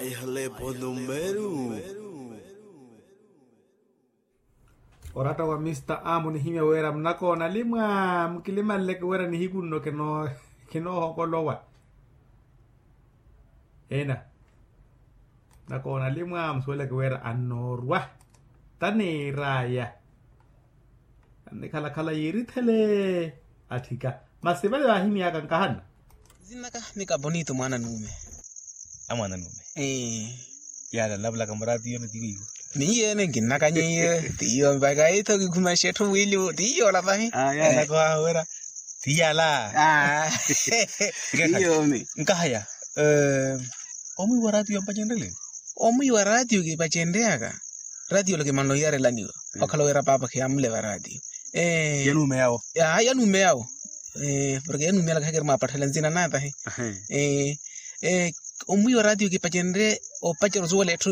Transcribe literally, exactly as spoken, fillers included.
Ehalepo numeru. Oratta wa mista a munihimya wira munakoona limwa mukilimanleke wira nihiku nno kinoohokolowa. Ena, munakoona limwa musuweleke wira annoorwa taniiraya. Annikhalakhala yiirithele atthika. Masi vale vaahimyaka nkahana. Nzinnaka mika bonito mwaana nuume. A mwaana nuume. Yala nlavulaka muraati yone tiwiiwo. Niiyo ene nkinnaka nyiiye. Tiiyo mpaka itho kikhuma xetthu wiiliwo tiiyo ola pahi. Yala kohaha wira. Tiyala. Tiiyo ome. Nkahaya. Omwiiwa raatiyo mpacenrele. Omwiiwa raatiyo kipacenreyaka. Raatiyo lo kimanlo iyarelaniwa. Okhala wira paapa khiyamuleva raatiyo. Yanuume yawo. Yanuume yawo. Porke yanuume yala khakiri mwaapatthela nzina natahi. Omwiiwa raatiyo kipacenre opacerya osuwela etthu.